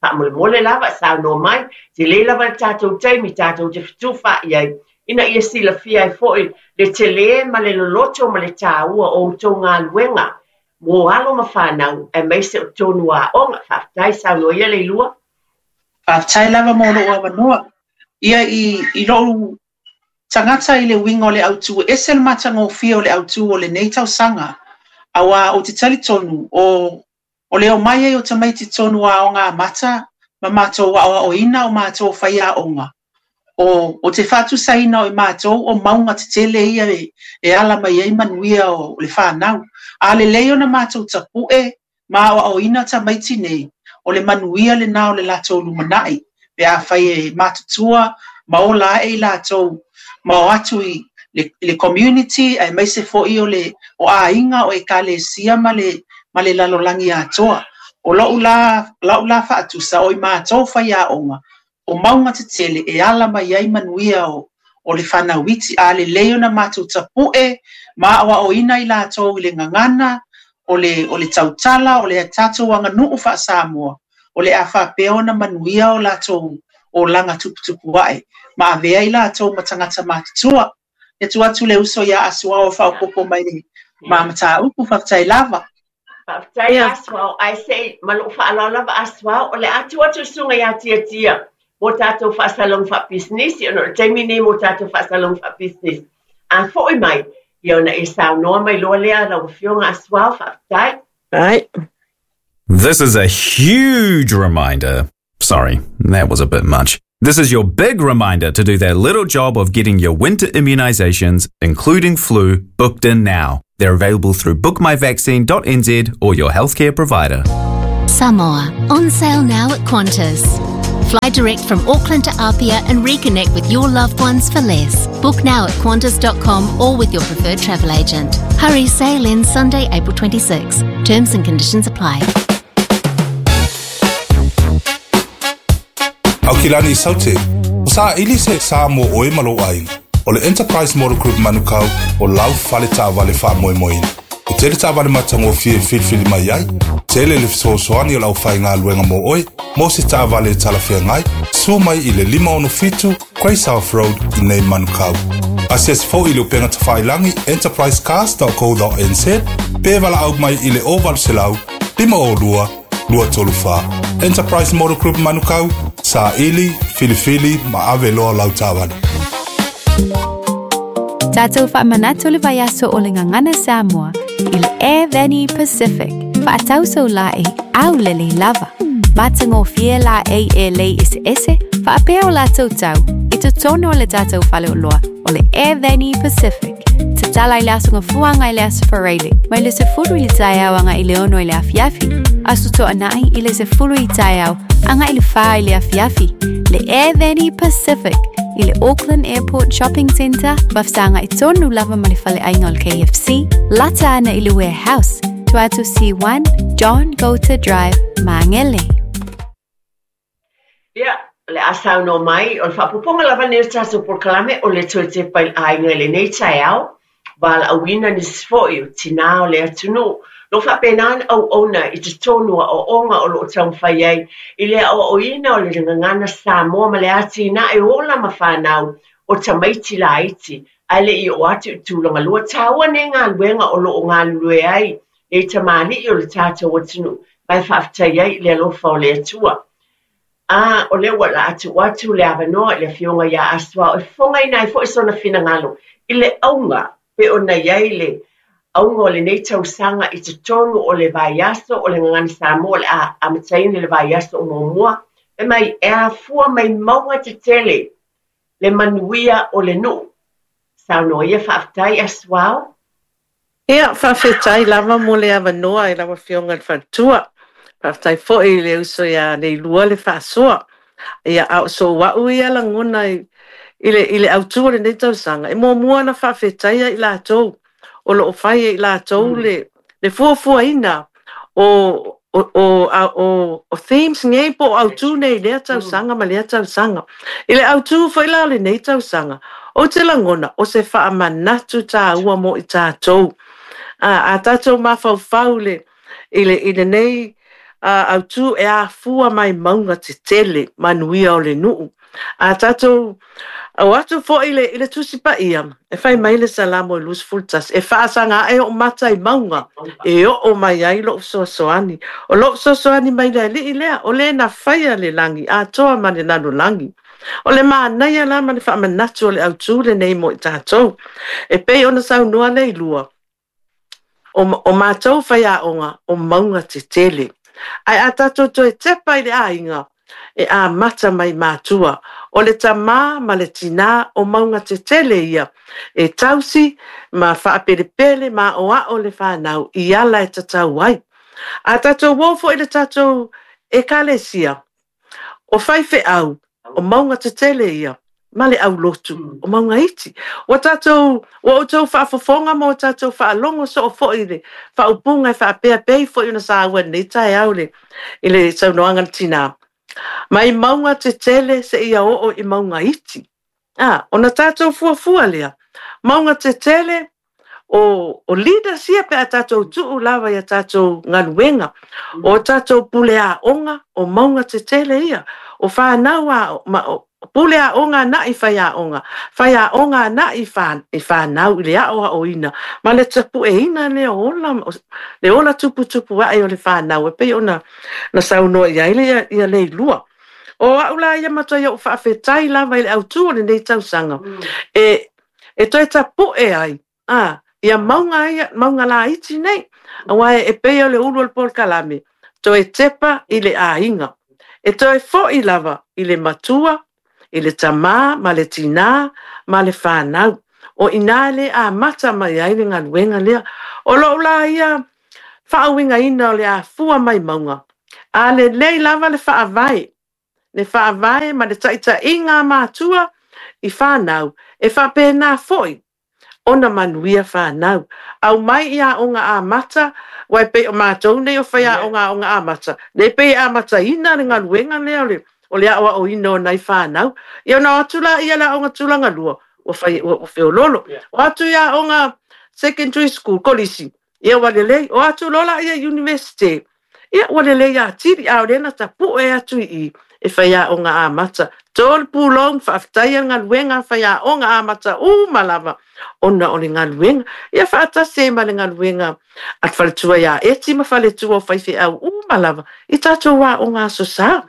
Faamolemole lava, saunoa mai, tele lava le tatou taimi tatou te fetufaai ai, ina ia silafia ai foi le tele ma le loloto ma le taua o outou galuega mo alo ma fanau, aemaise o totonu o aoga. Faafetai, saunoa ia Leilua. Faafetai lava mo lou avanoa. Ia i, i lou tagata i le uiga o le autū, e ese le matagofie o le autū o lenei tausaga, auā ou te talitonu o, o le omai ai o tamaiti tonu aoga amata ma matou aoaoina o matou faiaoga, o, o te faatusaina o i matou o mauga tetele ia e, e ala mai ai manuia o le fanau. A lelei ona matou tapu'e ma aoaoina tamaiti nei, o le manuia lenā o le latou lumanai, pe afai e matutua ma ola ae i latou ma o atu i le, le community aemaise foi o le o aiga, o ekalesia ma le, ma le lalolagi atoa. O lou la, lau la faatusa, o i matou faiaoga, o mauga tetele e ala mai ai manuia o, o le fanau iti, a lelei ona matou tapu'e ma aoaoina i latou i le gagana, o le, o le tautala, o le tatou aganuu faa-Samoa, o le a faapea ona manuia o latou olaga tuputupu ae, ma avea i latou ma tagata matutua. E tuu atu le uso ia Asuao e faaopoopo mai le ma mataupu, faafetai lava. Faafetai Asuao, ae se i ma lou faaaloalo lava Asuao, o le a tuu atu le susuga ia Tiatia mo tatou faasalalauga faapisinisi, ona o le taimi lenei mo tatou faasalalauga faapisinisi. A foi mai, Ia ona e saunoa mai loa lea lau Afioga Asuao, faafetai. Right. This is a huge reminder. Sorry, that was a bit much. This is your big reminder to do that little job of getting your winter immunizations, including flu, booked in now. They're available through bookmyvaccine.nz or your healthcare provider. Samoa, on sale now at Qantas. Fly direct from Auckland to Apia and reconnect with your loved ones for less. Book now at Qantas.com or with your preferred travel agent. Hurry, sale ends Sunday, April 26. Terms and conditions apply. Aukilani Saute, o saʻili se sa mo oe ma lou aiga. O le Enterprise Motor Group Manukau o lau fale taavale faamoemoeina. E tele taavale matagofie e filifili mai ai, tele le fesoasoani o le aufaigaluega mo oe, mo se taavale e talafeagai, sua mai i le 567 Grey South Road i nei Manukau. Asiasi foi i le upega tafailagi enterprisecars.co.nz pe valaau mai i le 0800 502 234. Enterprise Motor Group Manukau, saili, filifili ma ave loa lau taavale. Tatou faamanatu le vaiaso o le Gagana Samoa i le Air Vani Pacific. Faatau sau laei aulelei lava. Matagofie laei e lei eseese faapea o latou tau i totonu o le tatou faleoloa o le Air Vani Pacific. Tatala i le Aso Gafua agai i le Aso Faraile, mai le 10 i le taeao agai i le 6 i le afiafi, Aso Toonai i le 10 i taeao agai i le 4 i le afiafi. Le Air Vani Pacific i le Auckland Airport Shopping Centre, ma fesagai tonu lava ma le faleaiga o le KFC, lata ana i le Warehouse, tua atu C1, John Goulter Drive, Magele. Ia, o le a saunoa mai, o le faaopoopoga lava lenei o le tatou polokalame o le toe tepa i le aiga i lenei taeao, valaauina nisi foi o tinā o le atunuu, lo faapena ona auauna i totonu o aoaoga o lo o taumafai ai i le aoaoina o le gagana Samoa ma le atinae o ola ma fanau o tamaiti laiti ae le i oo atu i tulaga lua. Taua nei galuega o lo o galulue ai nei tamalii o le tatou atunuu ma e faafetai ai i le alofa o le Atua. A o lea ua laa tuu atu le avanoa i le Afioga ia Asuao e fofogaina ai foi sona finagalo i le auga pei ona i ai le auga o lenei tausaga i totonu o le vaiaso o le Gagana Samoa o le a amataina i le vaiaso o muamua, fai mai e afua mai mauga tetele le manuia o le nuu. Saunoa ia faafetai Asuao. Ia, faafetai lava mo le avanoa i lau Afioga i le Faletua. Faafetai foi i le uso ia Leilua le faasoa. Ia, a o sou au ia lagona i, i le, i le autu o lenei tausaga, e muamua ona faafetaia i latou o lo o fai e i latou le, le fuafuaina o, o, o, o, o themes nei po o autu nei i lea tausaga ma lea tausaga. I le autu foi la o lenei tausaga, Ou te lagona, o se faamanatu tāua mo i tātou. A, a tātou mafaufau le, i le, i lenei a, autū e afua mai mauga tetele, manuia o le nuu. A tātou o atu foi i le, i le Tusi Paia, e fai mai le Salamo i 21, e faasaga ae o'u mata i mauga, e oo mai ai lo'u fesoasoani. O lo'u fesoasoani mai le Alii lea, o le na faia le lagi atoa ma le lalolagi. O le manaia la ma le faamanatu o le autū lenei mo i tatou. E pei ona saunoa Leilua, o, o matou faiaoga o mauga tetele. Ae a tatou toe tepa i le aiga, e amata mai matua. O le tamā ma le tinā o mauga tetele ia, e tausi ma faapelepele ma aʻoaʻo le fanau i ala e tatau ai. A tatou o foi i le tatou Ekalesia, O faifeau, o mauga tetele ia, ma le aulotu, o mauga iti. Ua tatou, ua outou faafofoga ma ua tatou faalogo soo foi i le faaupuga e faapea pei foi ona saua i lenei taeao i le, i le saunoaga a le tinā. Mai mauga tetele seia oo i mauga iti. A, ona tatou fuafua lea, mauga tetele, o, o leaders ia pe a tatou tuu lava i a tatou galuega, o tatou pule aoga, o mauga tetele ia, o whanau a, ma, o, pule aoga na i whaiaoga, whaiaoga na i, wha, i whanau i le aoaoina, ma le tapueina le ola, le ola tuputupu ae o le whanau, e pei ona na saunoa i ai le ia Leilua. O au la ia matua i o'u faafetai lava i le autū o lenei tausaga, e, e toe tapu'e ai, ā, Ia mauga ia, mauga laiti nei. Aua e pei o le ulu o le polokalame, toe tepa i le aiga. E toe fo'i lava i le matua, i le tamā ma le tinā ma le fanau. O i ina le amata mai ai le galuega lea. O lou la ia faauigaina o le afua mai mauga, a lelei lava le faavae, le faavae ma le taitaiga a matua i fanau, e faapena foi ona manuia fanau. Aumai i aoga amata, aua e pei o matou nei o faiaoga aoga amata, lea e pei e amataina le galuega lea o le o le aoaoina o nai fanau. Ia ona o atu laia i le aoga tulaga lua, ua fai ua feololo. O atu i aoga secondary school, kolisi, ia ua lelei. O atu loa laia i Iunivesite, ia ua lelei atili, a o lea na tapue atu i i e faiaoga amata. To le pulou ma faafetaia le galuega a faiaoga amata uma lava ona o le galuega. Ia faatasi ai ma le galuega a le faletua ia Eti ma faletua o faifeau uma lava i tatou aoga Aso Sa.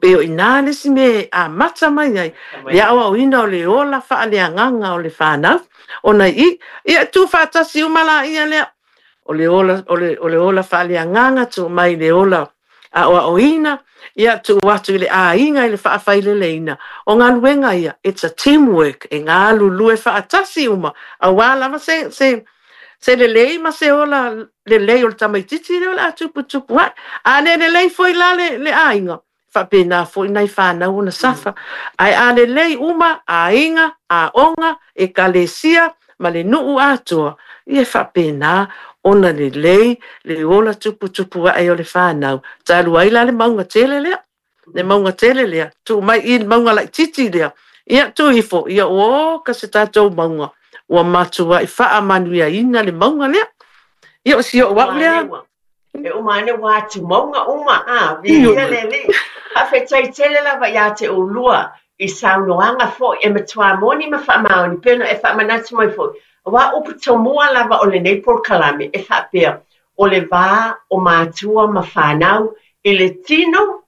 Pei o i ina le isi mea e amata mai ai le aoaoina o le ola faaleagaga o le fanau. Ona i i, ia tuufaatasi uma laia lea, o le ola, o le, o le ola faaleagaga, tuu mai i le ola aoaoina, ia tuu atu i le aiga i le faafaileleina. O galuega ia, it's a team work, e galulue faatasi uma, aua lava se, se, se lelei ma se ola lelei o le tamaitiiti lea o le a tuputupu ae. A le lelei foi la le, le aiga, faapena foi nai fanau ona safa. Ae a lelei uma aiga, aoga, ekalesia ma le nuu atoa, ia e faapena ona lelei le ola tuputupu ae o le fanau. Talu ai la le mauga tele lea, le mauga tele lea, tuu mai i le mauga laitiiti lea, ia tuu ifo, ia ua oka se tatou mauga, ua matuai faamanuiaina le mauga lea. Ia o si ou au lea. E uma ane ua atumauga uma, a, viia le Alii. Faafetai tele lava iā te oulua i saunoaga foi e matua moni ma faamaoni pei ona e faamanatu mai foi, aua upu tomua lava o lenei polokalame e faapea, o le va o matua ma fanau i le tino,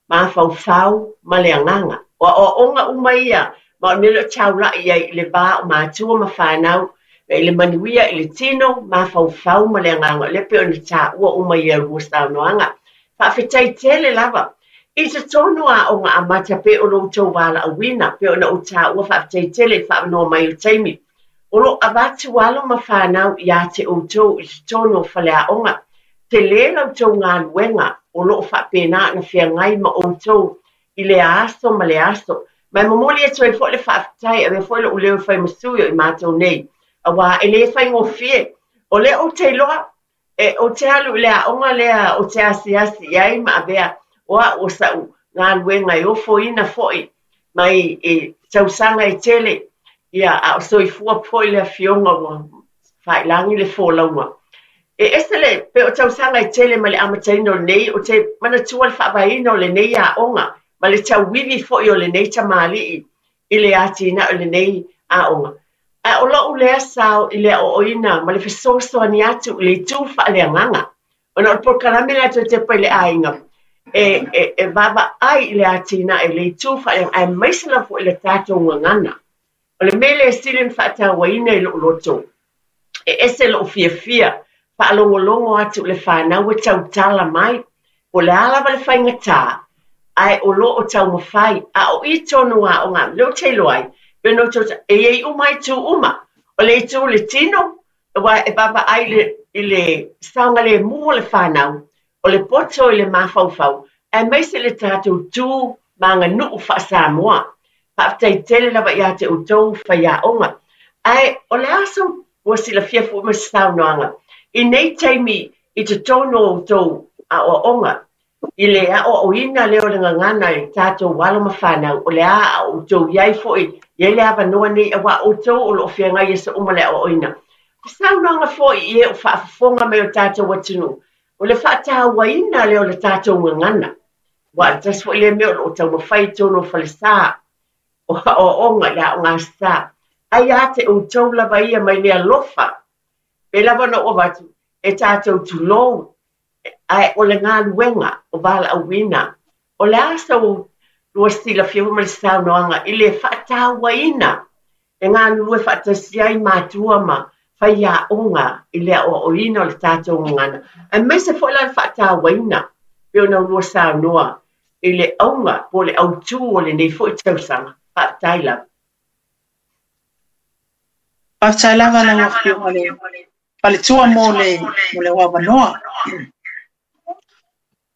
mafaufau ma le agaga. O aoaoga uma ia, ma o le mea lea o taulai i ai i le va o matua ma fanau, i le manuia i le tino, mafaufau ma le agaga, o lea pei ona taua uma i a lua saunoaga. Faafetai tele lava. I totonu o Aoga Amata pei o lo outou valaauina, pei ona ou taua faafetai tele i le faaavanoa mai o taimi. O lo o avatu alo ma fanau iā te outou i totonu o faleaoga. Tele la outou galuega o lo o faapena ona feagai ma outou i lea aso ma lea aso. Ma e momoli atu ai foi le faafetai, avea foi lou leo e fai ma sui o i matou nei, aua e le faigofie. O lea ou te iloa, e, ou te alu i le aoga lea ou te asiasi i ai ma avea o au o sa'u galuega e ofoina foi mai i tausaga e tele, ia, a o soifua foi le afioga ua faailagi le folauga. E ese le, pei o tausaga e tele mai le amataina o lenei, ou te manatua le faavaeina o lenei aoga ma le tauivi foi o lenei tamalii i le atinae o lenei aoga. Ae o lou lea sao i le aoaoina ma le fesoasoani atu i le itu faaleagaga, ona o le polokalame lea toe tepa i le aiga, e, e, e vaavaai i le atinae i le itu faaleagaga, aemaise lava foi i le tatou gagana. O le mea lea e sili ona faatauaina i lou loto, e ese lou fiafia faalogologo atu i le fanau e tautala mai, po o le a lava le faigatā, ae o lo o taumafai, a o i tonu aoga, lea ou te iloa ai, pei ona outou, e i ai uma itu uma, o le itu o le tino, aua e vaavaai i le, i le saogalemu o le fanau, o le poto i le mafaufau, aemaise le tatou tu ma aganuu faa-Samoa. Faafetai tele lava ia te outou faiaoga. Ae o le a sou ua silafia foi ma se saunoaga i nei taimi i totonu o outou aoaoga i le aoaoina lea o le gagana i tatou alo ma fanau, o le a a outou i ai foi, i ai le avanoa nei aua outou o lo o feagai i aso uma le aoaoina. O saunoaga foi i e o faafofoga mai o tatou atunuu, o le faatauaina lea o le tatou gagana. Aua o le tasi foi lea mea o lo o taumafai i totonu o falesa, o aoaoga i le aoga sa. Ai ia te outou lava ia mai le alofa, pei lava ona ou avatu, e tatou tulou, ae o le galuega o valaauina, o le a sa lua silafia foi ma le saunoaga i le faatauaina e galulue faatasi ai matua ma Faiaoga i le aoaoina o le tatou gagana, aemaise foi la le faatauaina pei ona ulua saunoa i le auga po o le autū o lenei foi tausaga. Faafetai lava. Faafetai lava lau Afioga i le Faletua mo le mo le avanoa.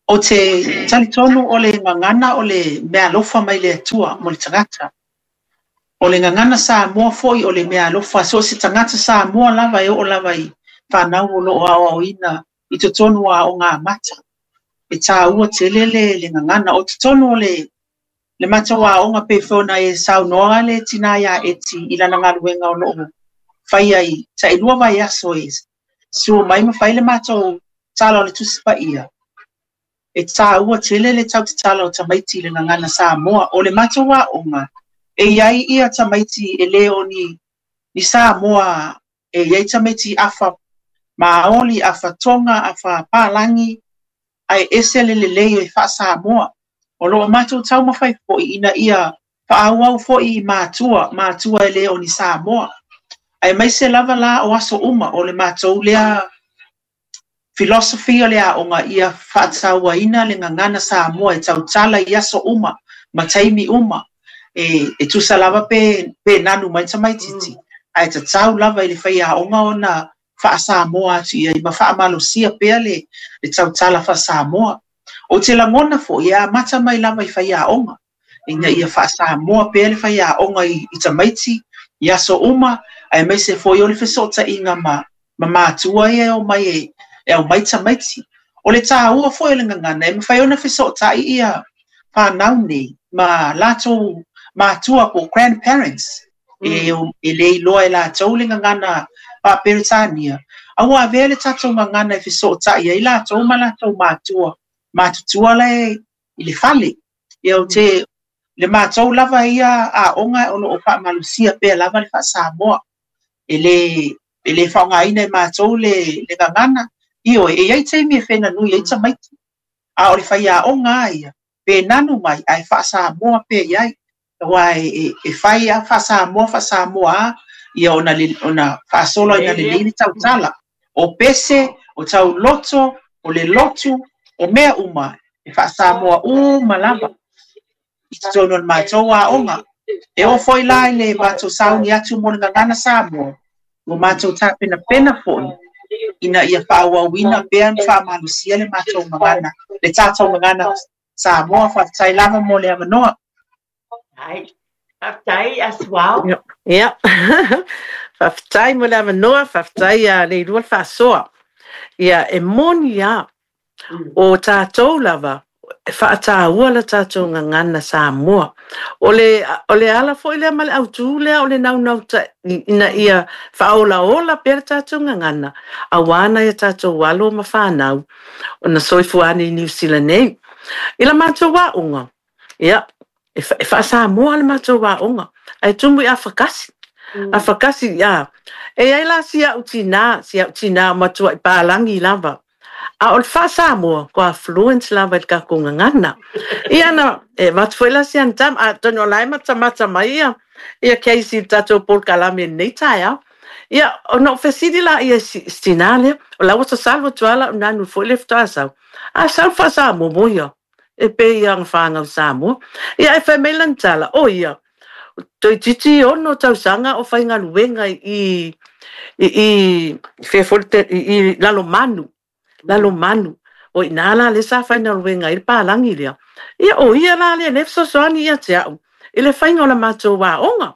O te talitonu o le gagana o le meaalofa mai le Atua mo le tagata. O le gagana Samoa foi o le meaalofa, so o se tagata Samoa lava e oo lava i fanau o lo o aoaoina i totonu o aoga amata. E taua tele le le gagana. O totonu o le le matou aoga pei foi ona e saunoa le tinā iā Eti i lana galuega o lo o faia i tailua vaiaso e sua mai ma fai le matou tala o le Tusi Paia. E taua tele le tautatala o tamaiti i le gagana Samoa. O le matou aoga, e i ai ia tamaiti e le o ni ni Samoa, e i ai tamaiti afa Maoli, afa Tonga, afa Palagi, ae ese le lelei o e faa-Samoa. O lo o matou taumafai foi ina ia faaauau foi i matua, matua e le o ni Samoa. Aemaise lava la o aso uma o le matou lea philosophy o le aoga ia faatauaina le gagana Samoa e tautala i aso uma ma taimi uma e e tusa lava pe pe nanu mai tamaititi ae tatau lava i le faiaoga ona faa-Samoa atu i ai ma faamalosia pea le le tautala faa-Samoa. Ou te lagona foi e amata mai lava i faiaoga ina ia faa-Samoa pea le faiaoga i i tamaiti i aso uma aemaise foi o le fesootaiga ma ma matua ia e omai e e aumai tamaiti. O le taua foi o le gagana e mafai ona fesootai ia fanau nei ma latou matua po o grandparents e e le iloa e latou le gagana faa-Peretania, a ua avea le tatou gagana e fesootai ai latou ma latou matua matutua la e i le fale. Ia ou te le matou lava ia aoga o lo o faamalosia pea lava le faa-Samoa. E le e le faaaogaina e matou le le gagana, ioe, e i ai taimi e fenanui ai tamaiti, a o le faiaoga lava ia, pe nanu mai ae faa-Samoa pea i ai. Aua e e e fai lava faa-Samoa faa-Samoa lava ia ona ona faasolo ina lelei le tautala. O pese, o tauloto, o le lotu, o mea uma e faa-Samoa uma lava i totonu o le matou aoga. E oo foi la i le matou sauni atu mo le gagana Samoa, ua matou tapenapena foi ina ia faaauauina pea ona faamalosia le matou gagana, le tatou gagana Samoa. Faafetai lava mo le avanoa. Ai, faafetai Asuao. Ia, faafetai mo le avanoa, faafetai ia Leilua le faasoa. Ia, e moni lava, o tatou lava, e faataua le tatou gagana Samoa. O le, o le ala foi lea ma le autū lea o le naunautaiga ina ia faaolaola pea le tatou gagana, aua nai a tatou alo ma fanau ona soifua ane i Niu Sila nei. I la matou aoga, ia, e, e faa-Samoa le matou aoga, ae tumu i afakasi. Afakasi, ia. E i ai la si au tinā, si au tinā o matuai palagi lava. A o le faa-Samoa, kua fluent lava i le tatou gagana. Ia na, e avatu foi la si ana tama, atonu o la e matamata mai ia, ia Casey i le tatou polokalame i lenei taeao. Ia, ona ou fesili lea i si tinā lea, o la ua sasalo atu lava lau nanu foi lea faatoa sau. A sau le faa-Samoa mo ia, e pei ia ana fanau Samoa. Ia, ae fai mai lana tala, o ia, toeitiiti 6 tausaga o faigaluega i i i fea foi le i Lalomanu, Lalomanu. O i ina la lea sa faigaluega ai le palagi lea. Ia, o ia la lea lea e fesoasoani ia te au i le faiga o la matou aoga.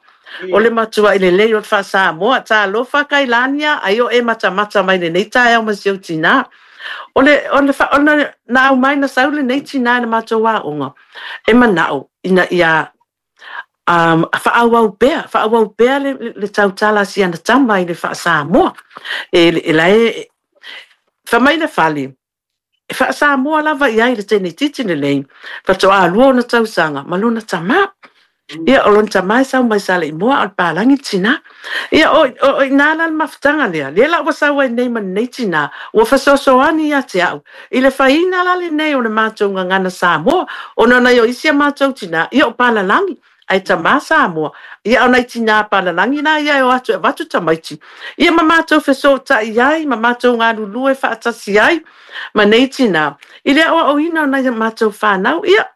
O le matuai lelei o le faa-Samoa. Talofa Kailania, ai o e matamata mai lenei taeao ma si ou tinā. O le, o le, ona na aumai na sau lenei tinā i le matou aoga, e manao ina ia faaauau pea, faaauau pea le, le tautala a si ana tama i le faa-Samoa. E, e la e, fai mai le fale, e faa-Samoa lava i ai le teineitiiti lenei, faatoa lua ona tausaga ma lona tama. Ia, o lona tama e sau mai Saleimoa, a o le palagi le tinā. Ia, o, o, o i ina la le mafutaga lea, lea la ua sau ai nei ma lenei tinā, ua fesoasoani ia te au i le faiina la lenei o le matou gagana Samoa, ona nai o isi a matou tinā, ia o palalagi. Ae tamā Samoa. Ia o nai tinā palalagi la ia e o atu e avatu tamaiti. Ia ma matou fesootai ai ma matou galulue faatasi ai ma nei tinā i le aoaoina o nai a matou fanau. Ia,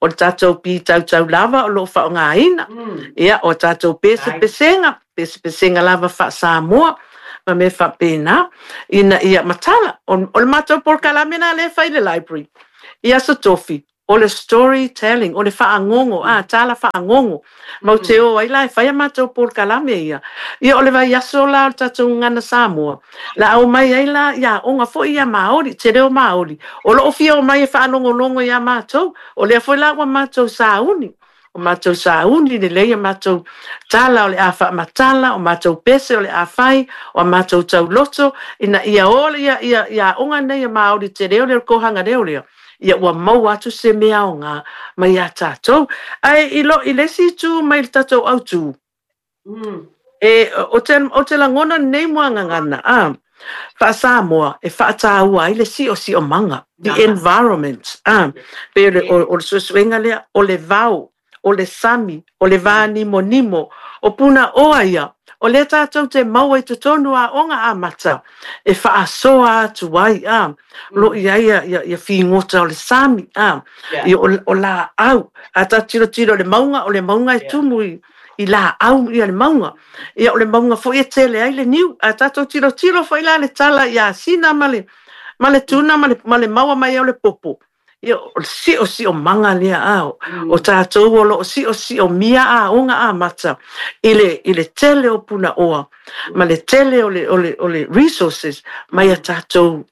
o le tatou pitautau lava o lo o faaaogaina. Ia, o a tatou pesepesega, pesepesega lava faa-Samoa ma mea faapena, ina ia matala. O le matou polokalame la lea e fai i le library i Aso Tofi, O le story telling, o le faagogo, a, tala faagogo. Matou te o ai la e fai a matou polokalame ia. Ia o le vaiaso la o le tatou Gagana Samoa, la a omai ai la i aoga foi ia Maori, te reo Maori, o lo o fia omai e faalogologo iā matou. O lea foi la ua matou sauni, o matou sauni lelei a matou tala o le a faamatala, o matou pese o le a fai, o a matou tauloto, ina ia o ia, ia, ia aoga nei a Maori te reo lea, o le kōhanga reo lea. Ia ua maua atu se mea aoga mai iā tatou. Ae i lo, i le isi itu mai le tatou autū, e, o te, o te lagona lenei muagagana, a, faa-Samoa e faataua ai le siosiomaga, the environment, a, pei o le, o, o le suesuega lea, o le vao, o le sami, o le vā nimonimo, o Punaoa ia, o lea tātou te maua i totonu o aoga amata e faasoa atu ai, ā, lo i ai ia, ia, ia figota o le sami, ā, ia o, o lāau. A tātou tilotilo i le mauga, o le mauga e tumu i, i lāau ia le mauga. Ia o le mauga foi e tele ai le niu. A tātou tilotilo foi la le tala iā Sina ma le, ma le tuna ma le, ma le maua mai ai o le popo, Ia, o le siosiomaga lea, a, o tatou o lo o siosiomia aoga amata i le, i le tele o punaoa ma le tele o le, o le, o le resources mai a tatou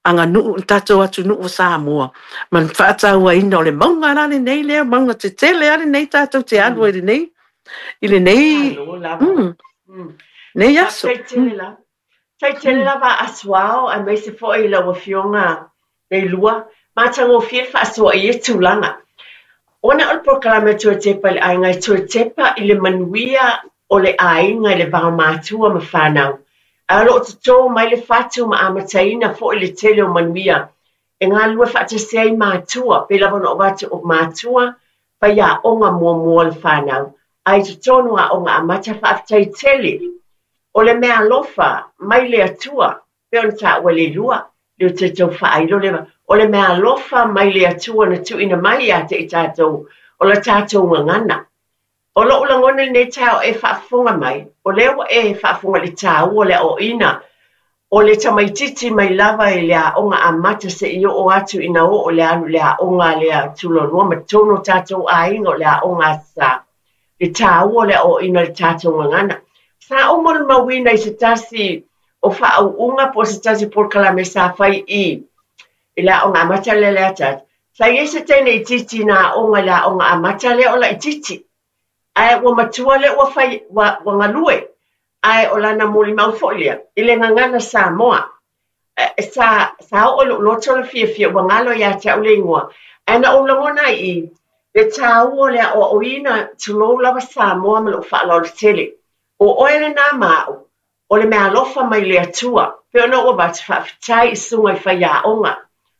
aganuu, tatou atunuu o Samoa, ma le faatauaina o le mauga la lenei lea, mauga tetele a lenei tatou te alu ai i lenei, i lenei, nei aso. Faafetai tele lava. Faafetai tele lava a Asuao aemaise foi i lau Afioga Leilua, matagofie le faasoa i ia tulaga. Ona o le polokalame a Toe Tepa i le Aiga e toe tepa i le manuia o le aiga i le vaomatua ma fanau, ae o lo o totō mai le fatu ma amataina foi le tele o manuia e galulue faatasi ai matua, pei lava ona ou avatu o matua faiaoga muamua o le fanau, a i totonu aoga amata faafetai tele. O le meaalofa mai le Atua, pei ona taua e Leilua, lea ou te tau faailo lea, o le meaalofa mai le Atua na tuuina mai ia te i tatou, o la tatou gagana. O lou lagona i lenei taeao e faafofoga mai, o lea ua e faafofoga i le taua o le aoaoina o le tamaitiiti mai lava i le aoga amata seia oo atu ina oo le alu i le aoga lea tulonua ma totonu o tatou aiga o le aoga a sa le taua o le aoaoina o le tatou gagana. Sa ou molimauina i se tasi o faauuga po o se tasi o polokalame sa fai i i le aoga amata lea le Leataata. Sa i ai se teine itiiti na aoga i le aoga amata lea o laitiiti. Ae ua matua lea ua fai, ua, ua galue. Ae o lana molimau foi lea, i le gagana Samoa. Sa, sa oo i lou loto le fiafia, ua galo ia te au le igoa. Ae na ou lagona ai i le taua o le aoaoina, tulou lava Samoa ma lou faaaloalo tele. O oe lena ma au, O le meaalofa mai le Atua, pei ona ou avatu faafetai i susuga i faiaoga,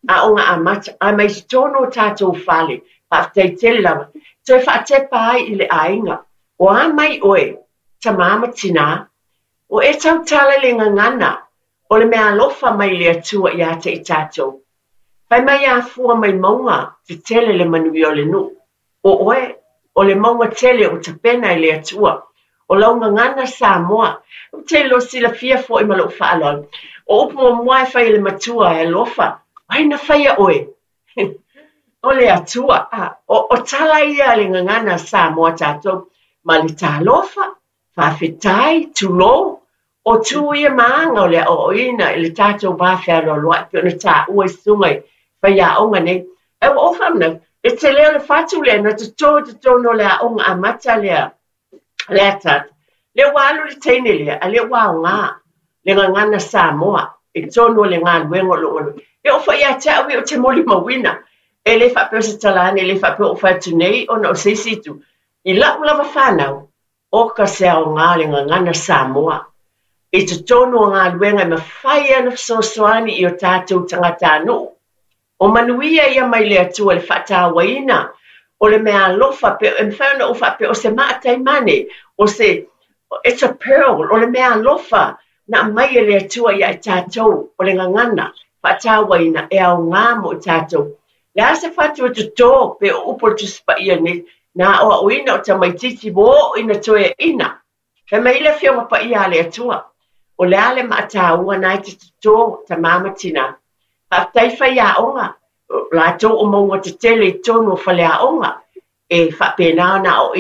aoga amata, ae mai totonu o tatou fale, faafetai tele lava, toe faatepa ai i le aiga. O a mai oe, tamā ma tinā? Ua e tautala i le gagana o le meaalofa mai le Atua ia te i tatou. Fai mai a fua mai mauga tetele le manuia o le nuu. O oe, o le mauga tele ua tapena e le Atua. O lau gagana Samoa. Ou te iloa silafia foi ma lou faaaloalo. O upu muamua e fai e le matua e alofa, o ai na faia oe? O le Atua. O, o tala ia a le gagana Samoa tatou. Ma le talofa, Faafetai, tulou, o tu ia ma aga o le aoaoina i le tatou va fealoaloai pei ona taua i susuga i faiaoga nei. Ae ua ou faamanatu, le tele o le fatu lea na toto i totonu o le aoga amata lea, Leataata, lea ua alu le teine lea, a lea ua aoga le gagana Samoa i totonu o le galuega o lo o galue. E oo foi ia te au ia ou te molimauina, e le faapea o se tala ane, e le faapea ua ou fai atu nei ona o se isi itu. I lau lava fanau, Oka se aoga le gagana Samoa i totonu o galuega e mafai ona fesoasoani i o tatou tagatanuu. O manuia ia mai le Atua i le faatauaina O le mea alofa pe e mafai ona ou faapea o se maataimane, o se it's a pearl, o le mea alofa na aumai e le Atua ia i tatou, o le gagana faatauaina e aoga mo i tatou. Le a se fatu e totō pe o upu o le Tusi Paia nei, na aoaoina o tamaitiiti ua oo ina toeaina. Fai mai le Afioga Paia a le Atua, o le a le maataua na e te totō, tamā ma tinā. Faafetai faiaoga, latou o mauga tetele i totonu o faleaoga, e faapena ona aoaoina.